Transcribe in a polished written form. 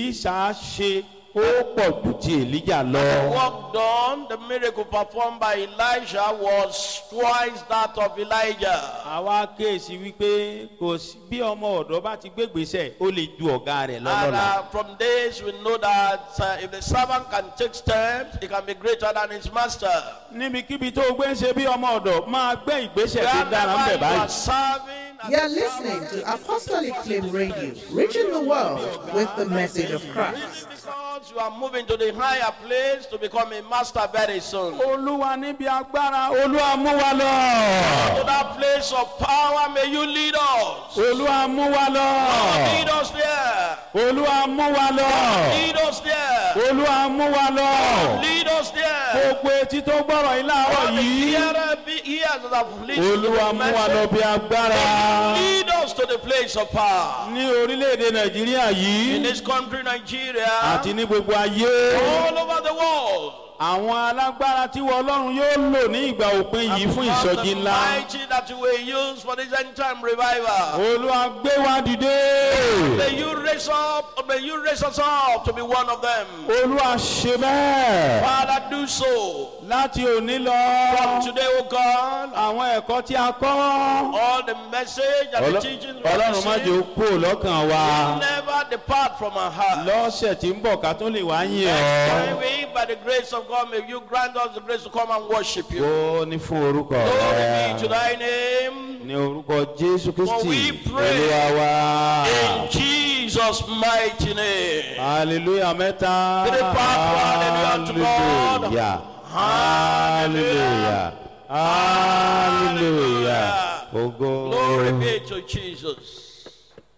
Èlíṣà ṣe ó pọ̀ ju ti Èlíjà The lọ. work done, the miracle performed by Elijah was twice that of Elijah. Àwa kíyèsí wípé kò sí bí ọmọ ọ̀dọ́ bá ti gbégbèsè, ó lè ju ọ̀gá rẹ̀ And lọ́lọ́la. from this, we know that if the servant can take steps, he can be greater than his master. Níbikíbi tó o gbé ń ṣe bí ọmọ ọ̀dọ̀, máa gbé ìgbésẹ̀ tó dára ń Wherever bẹ̀ you báyìí. are serving, as You're a listening servant, to Apostolic Flame Radio, reaching the world with the message of Christ. Because you are moving to the higher place to become a master very soon. Olúwa, níbi agbára, Olúwa mú wa lọ. To that place of power, may you lead us. Olúwa mú wa lọ. Lead us there. Olúwa mú wa lọ. Lead us there. Olúwa mú wa lọ. Lead us there. Gbogbo etí tó gbọ́rọ̀ yìí láàárọ̀ All the yìí, hearer be ears that have listened to Olúwa the mú wa lọ message. bí agbára. Lead us to the place of power. Ní orílẹ̀-èdè Nàìjíríà In yìí this country, Nigeria, àti ní gbogbo ayé, all over the world. àwọn alágbára tí wọ́n Ọlọ́run yóò lò ní ìgbà òpin yìí fún Because ìsọjí the ńlá. mighty that you will use for this end time revival. Olúwa gbé wa dìde. May you raise up, may you raise us up to be one of them. Olúwa ṣe bẹ́ẹ̀. Father, do so. Láti òní lọ, From today, O God, àwọn ẹ̀kọ́ tí a kọ́, all the message and the teachings we have Ọlọ́run má jẹ́ ó received kúrò lọ́kàn wa. never depart from our heart. Lọ́sẹ̀ tí ń bọ̀, ká tó lè wá yìn Next time ọ́. we, by the grace of God, may you grant us the grace to come and worship you. Ó ní fún orúkọ Glory be to rẹ̀. thy name. Ní orúkọ Jésù For Kristi we pray Olúwa wa. in Jesus' mighty name. Hallelujah mẹ́ta. Three part, hallelujah to God. Hallelujah. Hallelujah. Hallelujah. Ògo. Glory be to Jesus.